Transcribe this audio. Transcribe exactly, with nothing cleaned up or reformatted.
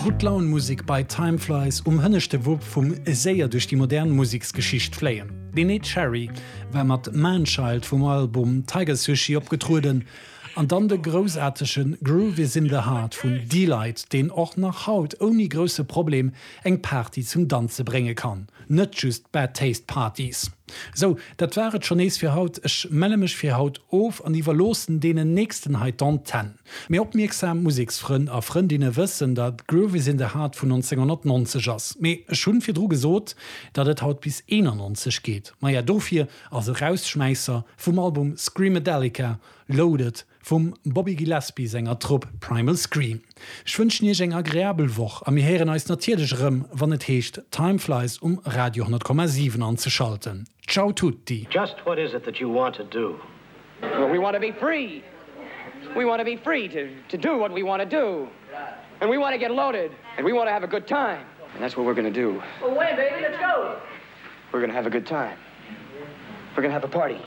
Gutt-Laun-Musek bei Time Flies um hënneschte Wupp vum séier duerch déi modern Museksgeschicht fléien. Neneh Cherry war mat Manchild vum Album Tiger Sushi opgetrueden, an dann de groussaartege Groove Is in the Heart vun Deee-Lite, deen och nach haut ouni grousse Problem eng Party zum Danze brénge kann. Net just Bad Taste Parties. Sou, dat war et schonn nees fir haut. Ech melle mech fir haut of an iwwerloossen deenen nächsten hei d'Antenn. Méi opmierksam Museksfrënn a Frëndinne wëssen, datt Groove Is in the Heart vun nonzénghonnertnonzeg ass. Mee ech hunn virdru gesot, datt et haut bis eenannonzeg geet. Maja, dofir als Erausschmäisser vum Album Screamadelica Loaded vum Bobby Gillespie senger Trupp Primal Scream. Ech wënschen iech eng agreabel Woch a mir héieren eis natierlech erëm, wann et heescht Time Flies um Radio honnert Komma siwen anzeschalten. Ciao tutti! Just what is it that you want to do? Well, we want to be free. We want to be free to, to do what we want to do. And we want to get loaded. And we want to have a good time. And that's what we're going to do. Well, when, baby? Let's go. We're going to have a good time. We're going to have a party.